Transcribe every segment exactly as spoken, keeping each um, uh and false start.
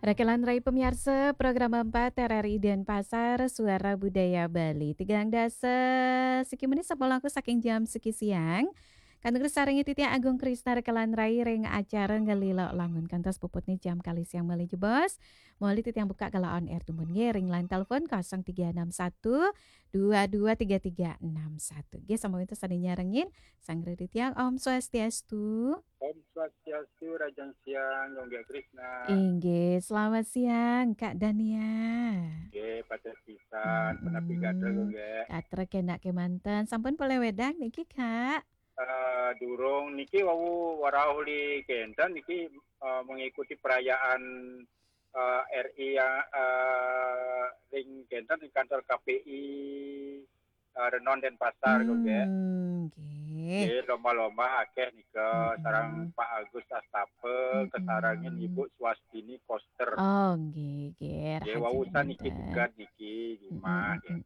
Rakelan rai pamiarsa, program empat R R I Denpasar, Suara Budaya Bali. Tigang dasa siki menit sampun langkung saking jam siki siang. Kantun sareng titiang Agung Krisna rakelan rai ring acara Ngelila Langun kantos puputne jam kalih siang malih jebos. Malih titiang buka galah on air dumun nggih ring line telepon kosong tiga enam satu dua dua tiga tiga enam satu. Nggih, sampun wenten sane nyarengin, sareng titiang Om Swastiastu. Om Swastiastu, rahajeng siang, Gung Gek Krisna. Inggih, selamat siang, Kak Dania. Nggih, pacet pisan, punapi gatra, Gung Gek? Gatra kenak kemanten. Sampun polih wedang niki, Kak? Eh, durung niki wau warauh uli kenten niki, eh, mengikuti perayaan, eh, R I yang, eh, ring kenten ring kantor K P I, eh, Renon Denpasar, Gung Gek. Hmm, nggih. Nggih, lomba-lomba akeh nika, sareng Pak Agus Astapa, kasarengin Ibu Swastini Koster. Oh, nggih, nggih. Nggih, rahajeng wau sami niki kemanten. Niki, di rumah, nggih.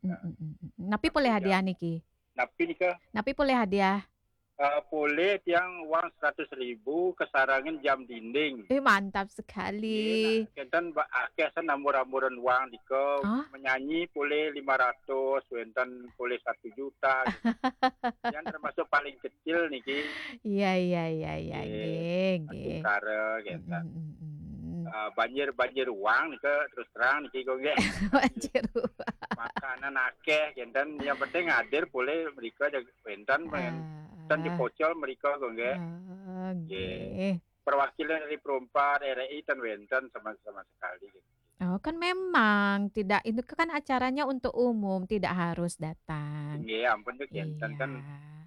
Napi polih hadiah niki? Napi nika? Napi polih hadiah? Eh, polih tiang uang seratus ribu, kasarengin jam dinding. Eh, mantap sekali. Nggih, nah, kenten ba-, akeh san ambur-amburan uang nika, menyanyi polih lima ratus, wenten polih satu juta, gitu. Yang termasuk paling kecil niki. Iya, iya, iya, iya, nggih, nggih. Nggih, nggih. Kenten. Eh, banjir-banjir uang nika terus terang niki, Gung Gek. Banjir uang. Makanan akeh, kenten. Yang penting hadir polih mrika, wenten, wenten dipocol mrika, Gung Gek. Ah, nggih. Perwakilan dari Perumpat, R I, ten wenten sama, sama sekali, gitu. Oh, kan memang tidak, itu kan acaranya untuk umum, tidak harus datang. Nggih, ampun, itu kenten kan,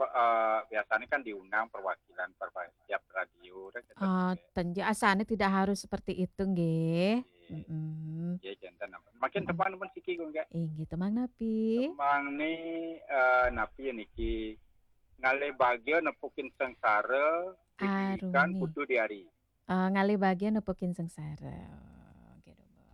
eh, biasanya kan diundang perwakilan, perwa-, tiap radio, kan, kenten, nggih. Ten, asane tidak harus seperti itu, nggih. Nggih. Nggih, kenten ampun. Mangkin tembang pun siki, Gung Gek. Inggih, tembang napi? Tembang ni, eh, napi niki? Ngalih bagia nepukin sengsara, Arumi. Putu Diari. Eh, ngalih bagia nepukin sengsara. Oke, dumun.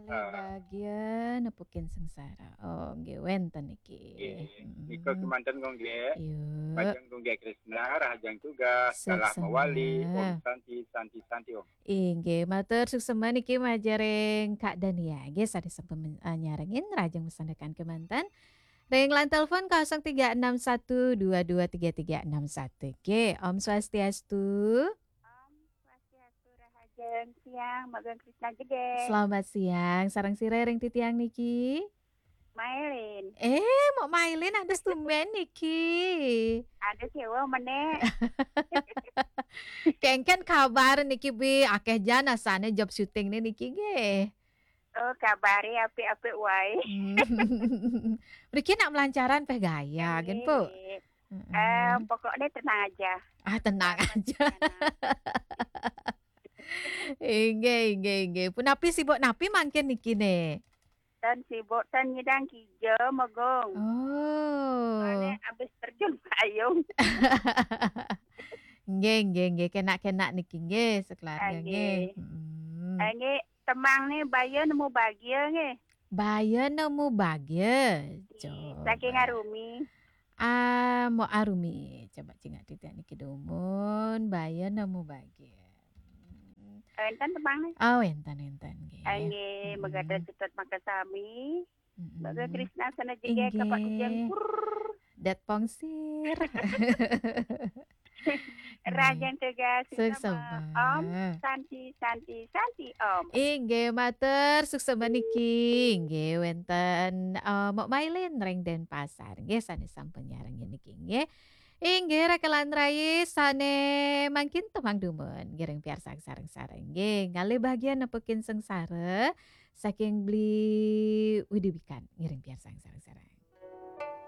Ngalih bagia nepukin sengsara. Oh, nggih, wenten niki. Nggih, nika kemanten, Gung Gek. Iya. Majeng Gung Gek Krisna, rahajeng tugas, galah mawali. Om Santi, Santi, Santi, Om. Inggih, matur suksma niki majeng ring Kak Dania. Nggih, sane sampun men-, eh, nyarengin, rahajeng masandekan kemanten. Ring line telepon kosong tiga enam satu dua dua tiga tiga enam satu. Nggih, Om Swastiastu. Om Swastiastu, rahajeng siang, Gung Gek Krisna jegeg. Selamat siang, sareng sira ring titiang niki? Mailin. Eh, Mbok Mailin, ada tumben niki. Ada sewa meneh. Kengken kabar niki, Bi, akeh jan asane job syuting niki nggih. Oh, kabare apik-apik wae. Hmm. Mriki nak melancaran peh gaya, nggih, nggih, Pu? Nggih. Mm-mm. Eh, pokoknya tenang aja. Ah, tenang aja. Tenang. Inggih, inggih, inggih. Punapi sibuk napi mangkin niki ne? Ten sibuk, ten nyidang kija, Megong. Oh. Soalnya habis terjun payung. Nggih, nggih, nggih. Kenak-kenak niki nggih, sekeluarga nggih. Nggih. Mm. Eh, nggih, tembang ni Baya Nemu Bagia nggih. Baya Nemu Bagia. Nggih, coba. Saking Arumi. Ah, Mbok Arumi. Coba cingak titiang niki dumun, Baya Nemu Bagia. Hmm. Wenten tembang ni? Oh, wenten, wenten nggih. Ah, nggih, mm-mm, mangda sutut makasami. Mm-mm. Gung Gek Krisna sane jegeg, inggih, Pak Ujang. Prrr. Dat pongsir. Nggih. Rahajeng tugas, suksma. Suksma. Om Santi, Santi, Santi, Om. Inggih, matur suksma niki. Inggih, wenten, eh, Mbok Mailin ring Denpasar. Nggih, sane sampun nyarengin niki, nggih. Inggih, rakelan rai sane mangkin tembang dumun. Ngiring piarsang sareng-sareng. Nggih, ngalih bagia nepukin sengsara. Saking Bli Widiwikan. Ngiring piarsang sareng-sareng.